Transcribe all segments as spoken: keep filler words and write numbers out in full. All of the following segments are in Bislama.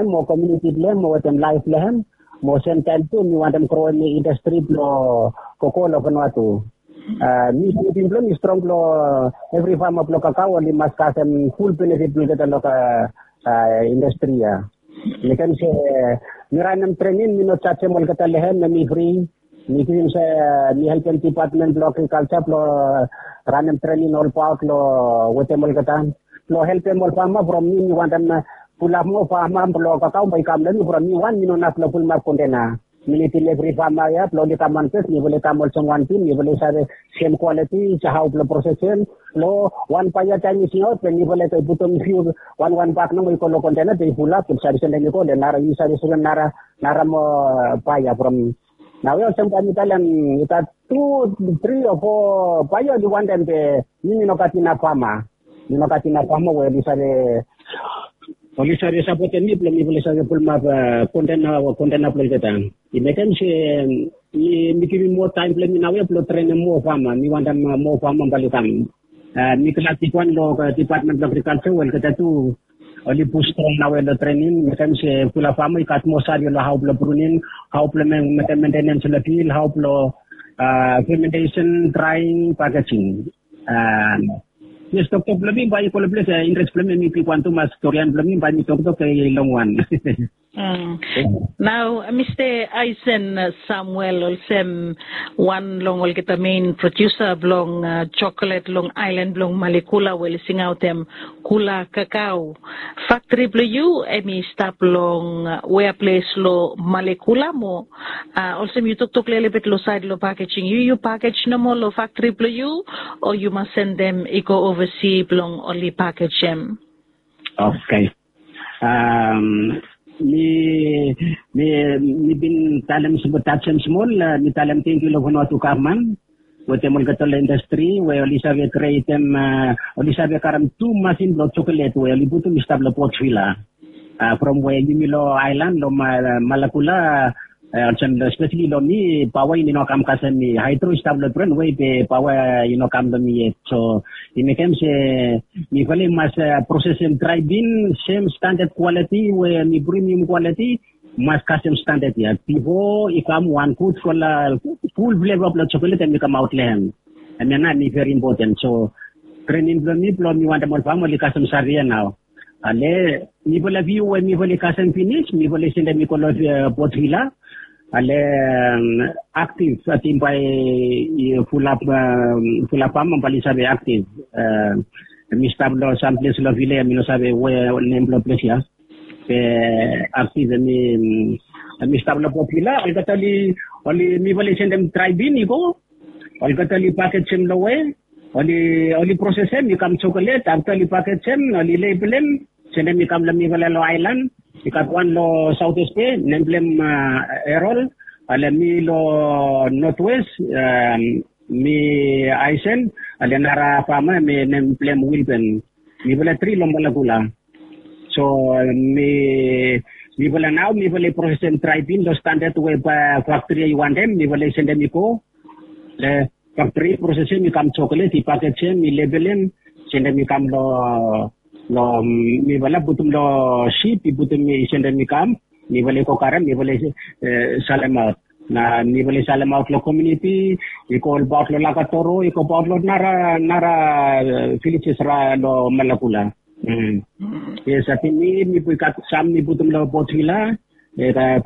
mo komiuniti blong hem mo wetem laef blong hem, mo semtaem tu mi wantem groem indastri blong kokoa long Vanuatu. Mi tingting blong mi strong blong evri fama blong kakao oli mas kasem ful benefit blong olgeta long indastri ya. Mekem se mi ranem trening, mi no jajem olgeta long hem, na mi fri. Mi givim se mi helpem dipatmen blong agrikalja blong ranem trening olbaot long wetem olgeta blong helpem ol fama from mi, mi wantem pulap moa fama blong kakao bae i kam long mi from mi wan mi no inap blong pulimap kontena. Mi nidim evri fama ya blong oli kam wan ples, mifala i kam olsem wan tim, mifala i save sem kwaliti, hao blong prosesem long wan bae ya taem i singaot, be mifala i putum fiu wan wan bak nomo i go long kontena, be i pulap, be save sendem i go long nara, yu save sendem nara, nara moa bae ya from. Naoia olsem taem mi talem i gat tu, tri o fo bae ya oli wantem, be mi mi no gat inap fama. Mi no gat inap fama we oli save, oli save sapotem mi blong mifala i save pulimap kontena, kontena blong olgeta. I mekem se mi, mi givim moa taem blong mi naoia blong trenem moa fama. Mi wantem moa fama bae oli kam. Mi glad bigwan long dipatmen blong agrikalja we olgeta tu oli pus strong naoia long trening, mekem se fulap fama i gat moa save long hao blong pruning, hao blong mekem mentenens long fil, hao blong fementesen, draeng, pakejing. Yes, toktok blong mi bae i go long ples ya, interes blong mi, mi bigwan tumas, storian blong mi bae mi toktok i longwan. Nao Mista Aisen Samuel, olsem wan long olgeta mein prodiusa blong joklet long aelan blong Malekula we oli singaotem Kula Kakao. Faktri blong yu hemi stap long wea ples long Malekula mo olsem yu toktok lelebet long saed long pakejing, yu yu pakej nomo long faktri blong yu, o yu mas sendem i go ovasi blong oli pakejem? Oke. Mi, mi, mi bin talem, tajem smol, mi talem tangkiu long Vanuatu gavman wetem olgeta ol indastri we oli save krietem, oli save karem tu masin blong joklet we oli putum i stap long Port Vila. From we yumi long aelan long Malekula, olsem espeseli long mi, paoa i no kam kasem mi. Haedro i stap long pren we be paoa i no kam long mi yet. So i mekem se mifala i mas prosesem drae bin sem standad kwaliti we hemi premium kwaliti, mas kasem standad ya bifo i kam wan gud, ful fleva blong joklet hemi kamaot long hem. Hemia nao hemi veri impoten. So trening blong mi blong mi wantem ol fama oli kasem save ya nao. Ale mifala viu we mifala i kasem finis, mifala i sendem i go long Port Vila. Ale aktiv, ating bae i fulap, fulap fama bae oli save aktiv. Mi stap long sam ples long Vila ya, mi no save we nem blong ples ya. Be aktiv, mi, mi stap long Port Vila, olgeta oli, oli, mifala i sendem drae bin i go. Olgeta oli pakejem long we oli, oli prosesem i kam joklet, afta oli pakejem, oli lebelem, sendem i kam long mifala long aelan. I gat wan long Southeast Bay, nem blong hem Erol. Ale mi long Northwest, mi Aisen. Ale nara fama, mi nem blong hem Wilben. Mifala tri long Malekula. So mi, mifala nao mifala i prosesem drae bin long standad we faktri ya i wantem, mifala i sendem i go. Faktri i prosesem, i kam joklet, i pakejem, i lebelem, sendem i kam long, long, mifala putum long sip, i putum, i sendem i kam. Mifala i go karem, mifala i salemaot. Na mifala i salemaot long komiuniti, i go olbaot long Lakatoro, i go olbaot long nara, nara vilejes long Malekula. Yes, ating mi, mi gat sam mi putum long Port Vila.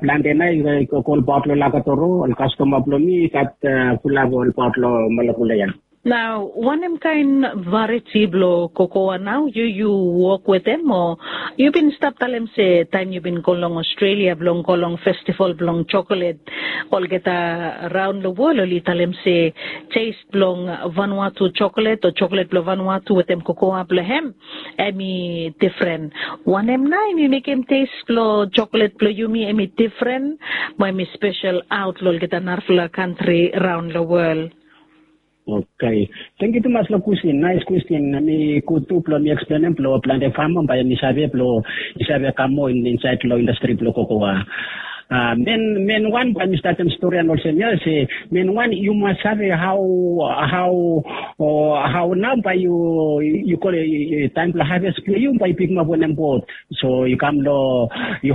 Plante nao i go olbaot long Lakatoro, ol kastoma blong mi i gat fulap olbaot long Malekula ya. Nao wanem kaen varieti blong kokoa nao yu, yu wok wetem, o yu bin stap talem se taem yu bin go long Australia blong go long festival blong joklet olgeta raon long wol oli talem se tes blong Vanuatu joklet o joklet blong Vanuatu wetem kokoa blong hem hemi difren. Wanem nao hemi mekem tes blong joklet blong yumi hemi difren mo hemi spesel aot long olgeta narafala kantri raon long wol? Oke. Tangkiu tumas long kwestin, naes kwestin. Hemi gud tu blong mi eksplenem blong plante fama bae hemi save blong i save kam moa insaed long indastri blong kokoa. men men wan bae mi statem storian olsem ya se men wan yu mas save hau hau o hau nau bae yu yu kol taem blong haves blong yu bae yu pikimap wanem bot. So yu kam long yu